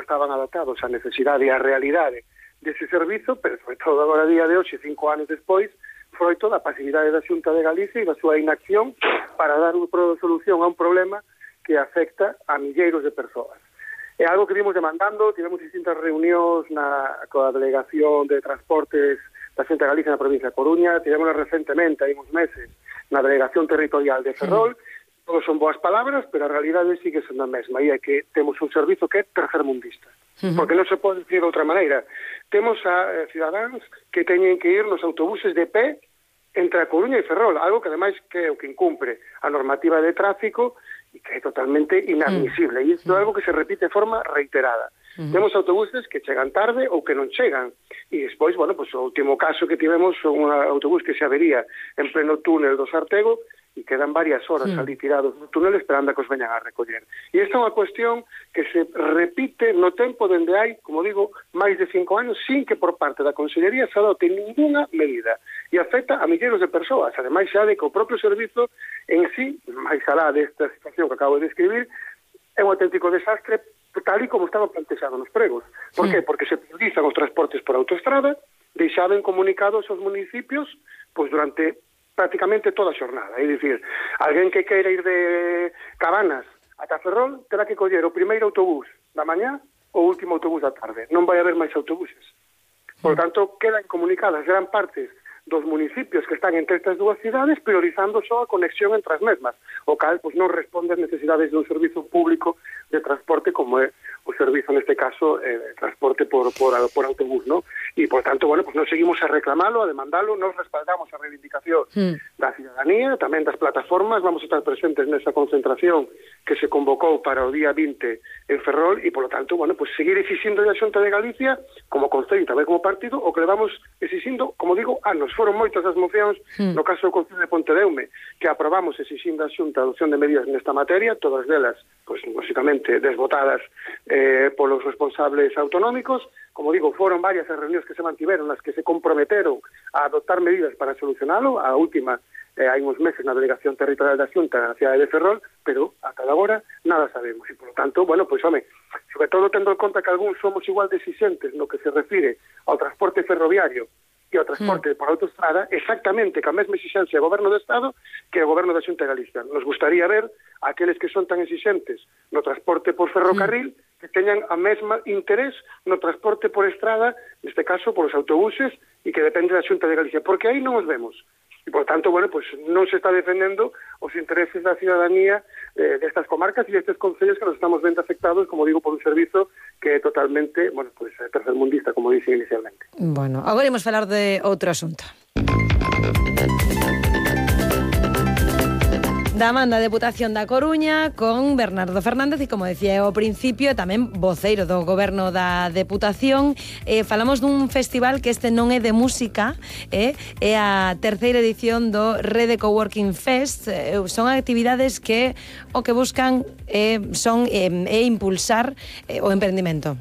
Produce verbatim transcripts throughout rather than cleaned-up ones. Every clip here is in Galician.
estaban adaptados á necesidade e á realidade dese servizo, pero sobre todo agora a día de hoxe, cinco anos despois, froito da pasividade da Xunta de Galicia e da súa inacción para dar unha solución a un problema que afecta a milleiros de persoas. É algo que vimos demandando, tivemos distintas reunións na, coa Delegación de Transportes da Xunta de Galicia na provincia de Coruña, tivemos recentemente, hai uns meses, na Delegación Territorial de Ferrol. Sí. Todos son boas palabras, pero a realidade sigue sendo a mesma, e é que temos un servizo que é tercermundista, uh-huh. porque non se pode decir de outra maneira. Temos a eh, cidadáns que teñen que ir nos autobuses de pé entre a Coruña e Ferrol, algo que ademais que é o que incumpre a normativa de tráfico e que é totalmente inadmisible, uh-huh. e isto é algo que se repite de forma reiterada. Uh-huh. Temos autobuses que chegan tarde ou que non chegan. E despois, bueno, pues, o último caso que tivemos foi un autobús que se avería en pleno túnel do Sartego e quedan varias horas uh-huh. ali tirados no túnel esperando a que os veñan a recoller. E esta é unha cuestión que se repite no tempo dende hai, como digo, máis de cinco anos, sin que por parte da Consellería se adote ninguna medida. E afecta a milleiros de persoas. Ademais, xa de que o propio servizo en sí, máis alá desta situación que acabo de describir, é un auténtico desastre tal e como estaba plantexado nos pregos. Por sí. que? Porque se priorizan os transportes por autoestrada, deixaben comunicados aos municipios pois durante prácticamente toda a xornada. É dicir, alguén que queira ir de Cabanas ata Ferrol terá que coller o primeiro autobús da mañá ou o último autobús da tarde. Non vai haber máis autobuses. Por tanto, quedan comunicadas gran partes dos municipios que están entre estas dúas cidades priorizando só a conexión entre as mesmas, o cal pois, non responde ás necesidades dun servizo público de transporte como é o servizo, neste caso, eh, de transporte por, por, por autobús, ¿no? E, por tanto, bueno, pues nos seguimos a reclamalo, a demandalo, nos respaldamos a reivindicación mm. da cidadanía, tamén das plataformas, vamos a estar presentes nesa concentración que se convocou para o día vinte en Ferrol e, por lo tanto, bueno, pues seguir exixindo a Xunta de Galicia, como concello e tamén como partido, o que levamos exixindo, como digo, anos. Foron moitas as mocións, mm. no caso do Concello de Pontedeume, que aprobamos exixindo a Xunta a adopción de medidas nesta materia, todas delas, pues, básicamente, desbotadas eh, polos responsables autonómicos. Como digo, foron varias as reunións que se mantiveron, nas que se comprometeron a adoptar medidas para solucionalo. A última, eh, hai uns meses na Delegación Territorial da Xunta na cidade de Ferrol, pero ata agora nada sabemos. E, por lo tanto, bueno, pois, home, sobre todo tendo en conta que algúns somos igual de exixentes no que se refire ao transporte ferroviario e ao transporte mm. por autoestrada, exactamente ca mesma exigencia do Goberno do Estado que o Goberno da Xunta de Galicia. Nos gustaría ver aqueles que son tan exixentes no transporte por ferrocarril mm. que teñan a mesma interés no transporte por estrada, neste caso por os autobuses, e que depende da Xunta de Galicia, porque aí non os vemos. E, por tanto, bueno, pues non se está defendendo os intereses da cidadanía eh, destas comarcas e destes concellos que nos estamos vendo afectados, como digo, por un servizo que é totalmente, bueno, pues tercermundista, como dixen inicialmente. Bueno, agora imos falar de outro asunto. Da man da Deputación da Coruña con Bernardo Fernández e, como decía ao principio, tamén voceiro do Goberno da Deputación. Eh, falamos dun festival que este non é de música, eh, é a terceira edición do Rede Coworking Fest. Eh, son actividades que o que buscan eh, son eh, é impulsar eh, o emprendimento.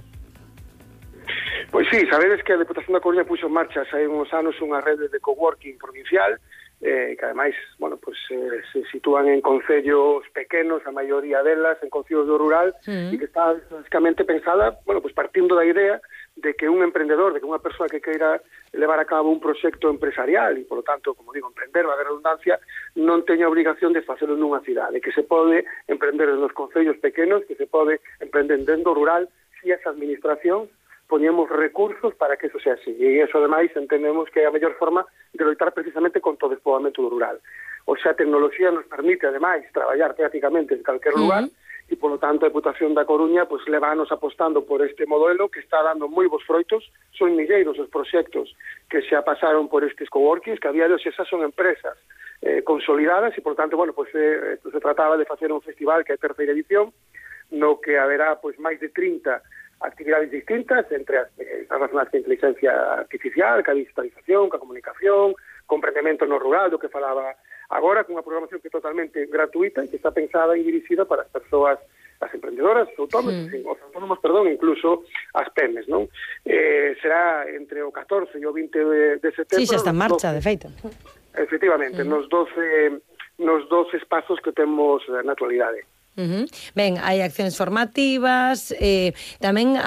Pois sí, sabedes que a Deputación da Coruña puxo en marcha hai uns anos unha rede de coworking provincial, eh, que ademais, bueno, pues, eh, se sitúan en concellos pequenos, a maioría delas en concellos do rural, mm. e que está basicamente pensada, bueno, pues partindo da idea de que un emprendedor, de que unha persoa que queira levar a cabo un proxecto empresarial e, por lo tanto, como digo, emprender a redundancia, non teña obligación de facelo nunha cidade, que se pode emprender nos concellos pequenos, que se pode emprender dentro rural, si esa administración poñemos recursos para que eso sea así. E iso, ademais, entendemos que é a mellor forma de loitar precisamente con todo o despoboamento do rural. O sea, a tecnoloxía nos permite, ademais, traballar prácticamente en calquer lugar, uh-huh. e, polo tanto, a Deputación da Coruña pues, levanos apostando por este modelo que está dando moi bons froitos. Son milleiros os proxectos que xa pasaron por estes coworkings, que a día de hoxe xa son empresas eh, consolidadas, e, por tanto, bueno, pues, eh, se trataba de facer un festival que é a terceira edición, no que haberá pues, máis de trinta actividades distintas, entre as eh, relacionadas con a inteligencia artificial, ca digitalización, ca comunicación, con emprendemento no rural, do que falaba agora, con unha programación que é totalmente gratuita e que está pensada e dirixida para as persoas, as emprendedoras, os autónomos, sí. os autónomos, perdón, incluso as pemes, non? Eh, será entre o catorce e o vinte de, de setembro. Sí, xa está en marcha, doce, de feito. Efectivamente, uh-huh. nos doce nos doce espazos que temos na actualidade. Uh-huh. Ben, hai accións formativas, eh, tamén